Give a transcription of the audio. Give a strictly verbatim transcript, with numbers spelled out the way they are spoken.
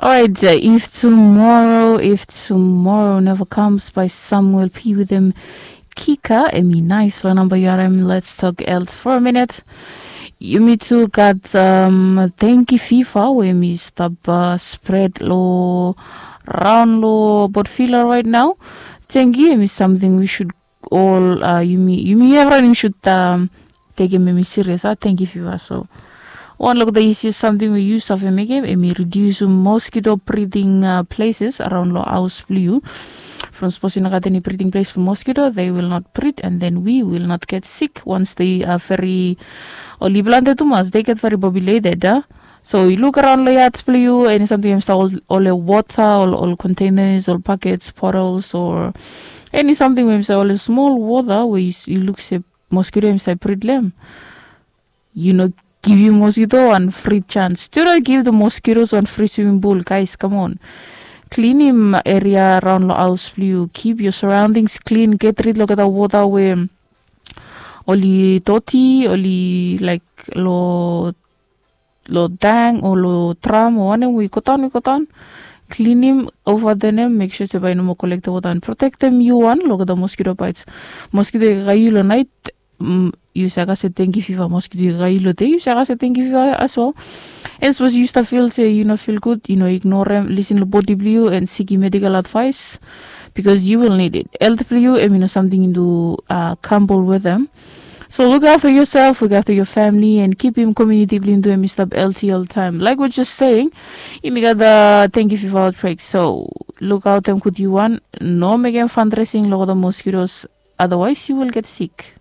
Alright, uh, if tomorrow, if tomorrow never comes by Samuel P with him Kika, emi nice lo number U R M. Let's talk else for a minute. Yumi tu gat um, dengue fever we mi stop uh, spread lo round lo Port Vila right now. Dengue emi something we should all uh, yumi yumi everyone yumi should um, take him emi serious. Uh, dengue fever so One lo olgeta isi samting we yu save mekem, emi ridiusim moskito briding places araon lo haos blo yu. From sapos yu no gat eni briding ples blo moskito, they will not breed and then we will not get sick once they are very, oli plante tumas, they get very populated a. So yu luk araon lo yad blo yu, eni samting em stap ol wota, ol containers, ol pakets, bottles, or eni samting we em stap ol smol wota we yu luk se moskito em stap brid long em. Yu no givim moskito wan fri jans. Do not give the mosquitoes wan fri swiming pool, guys, come on. Klinim eria araon lo haos blo yu. Keep your surroundings clean. Get rid lo olgeta wota we oli doti, oli laik lo lo dang o lo dram o wanem we i godaon, we i godaon. Klinim ova denem, mek sua se bae i no moa kolektem wota and protektem yu wan lo olgeta moskito baets. Moskito i kakae yu lo naet, yu save kase dengue fiva. Moskito i kakae yu lo dei, yu save kase dengue fiva as well. And sapos yu stap fil se yu no fil gud, yu no ignorem, lisin lo bodi blo yu and sikim medical advice, because you will need it. Health blo yu em i no samting yu do uh, gamble wetem. So look after yourself, look after your family, and kipim komuniti blo yu em i stap healthy oltaem. Like we just saying, yumi gat the dengue fiva outbreak. So look out em gud yu wan, no mekem fundraising lo olgeta moskitos, otherwise you will get sick.